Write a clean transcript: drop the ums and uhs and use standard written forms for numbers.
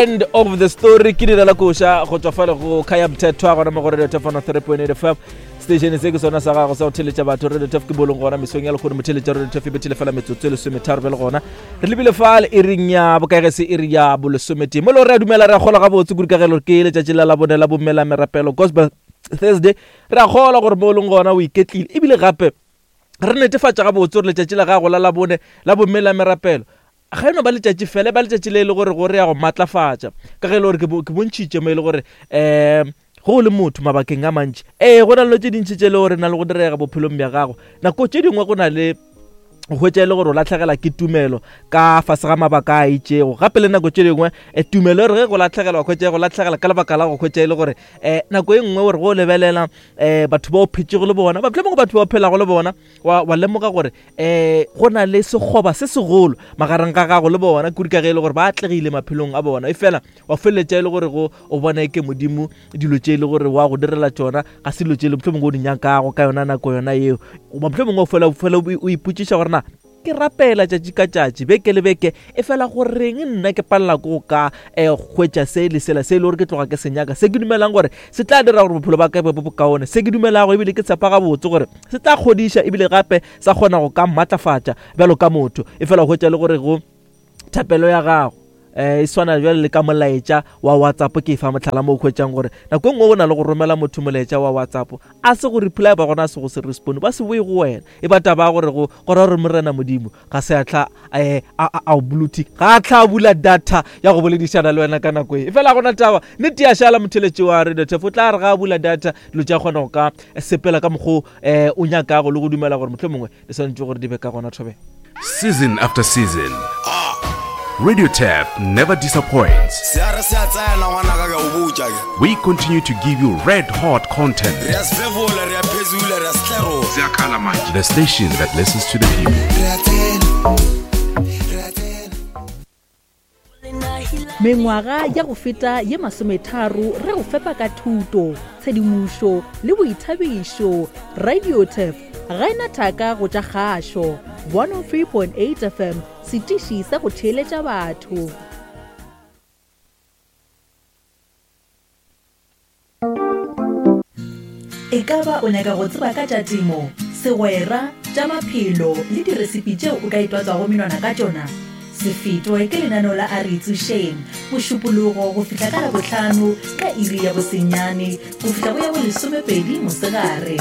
End of the story ke direla koša go tšwa fale go Khaya Mthethwa gona mo go Radio Top 103.8 FM. Station se ke sona sa gago sa go theletša batho Radio Top ke bolong gona mesong ya lekgono motheletša Radio Top e bethile fela metsotso e lesometharo bjale gona re lebile fale iring ya bokaege se iri ya bolesometee mo le gore re a dumela re a kgola gabotse kudu ka gelo ke letšatši la labone la bomme la merapelo gospel Thursday re a kgola gore mo o leng gona o iketlile ebile gape re netefatša gabotse gore letšatši la gago la labone la bomme la merapelo ga e no ba letšatši fela e ba letšatši le e le gore gore ya go matlafatša ka ge e le gore ke bontšhitše mo e le gore um go o le motho mabakeng a mantši ee go na le tše dintši tše e le gore na le go direga bophelong bja gago nako tše dingwe go na le go hwetša e le gore o latlhegela ke tumelo ka fase ga mabaka a itšego gape le nako tše dingwe eh, tumelo e re ge go latlhegelwa hwetša e go latlhegela ka lebaka la go hwetša e le gore um nako e nngwe gore go lebelela um batho ba o phetšego le bona ba mohlomongwe batho ba o phelago le bona wa, wa lemoga gore um go na le sekgoba se segolo magareng ga gago le bona kudu ka ge e le gore ba atlegile maphelong a bona e fela wa feleletša e le gore go o bona e ke modimo dilo tše e le gore wa go direla tšona ga se dilo tše e le mohlomongwe o di nyakago ka yona nako yona yeo goba mohlomongwe o fela fela o ipotšiša gore na ke rapela tšatši ka tšatši beke le beke e fela goreng nna ke palela ko go ka um hwetša se le sela se e le gore ke tloga ke se nyaka se ke dumelang gore se tla dira gore bophelo ba ka bo bokaone se ke dumelago ebile ke tshepa gabotse gore se tla kgodiša ebile gape sa kgona go ka maatlafatša bjalo ka motho e fela hwetša le gore go thapelo ya gago eh e swana bjale le ka molaetša wa WhatsApp ke fa mohlala mo o hwetšang gore nako e nngwe o na le go romela motho molaetša wa WhatsApp a se go reply ba gona a se go se respond ba se boe go wena e ba taba ya gore go go ra gore morena modimo ga se a tla eh, a a o blue tick ga a tla bula data ya go boledišana le wena ka nako e fela gona taba nnete ya šala motheletši wa radio tef o tla re ga a bula data dilo tša kgona go ka sepela ka mokgo um o nyakago le go dumela gore mohlomongwe di swanetše gore di be ka gona thobela Season after season, Radio Tap never disappoints. Se a re se a tsena ngwanaka ke a o botša ke. We continue to give you red hot content. Re a sefefola, re a phezula, re a setlerola. Ziyakhala manje. The station that listens to the people. Re a tsena, re a tsena. Mengwaga ya go feta ye masometharo re go fepa ka thuto, tshedimošo le boithabišo. Radiotef ga e na thaka go tša kgašo. 103.8 FM, setiši sa go theeletša batho. E ka ba o nyaka go tseba ka tša temo, segwera, tša maphelo le diresipi tšeo o ka itwatswago menwana ka tšona? Se fetwe ke lenaneo la A Re Itsošeng, Mošupologo go fihla ka Labohlano ka iri ya bosenyane go fihla go ya bolesomepedi mosegare.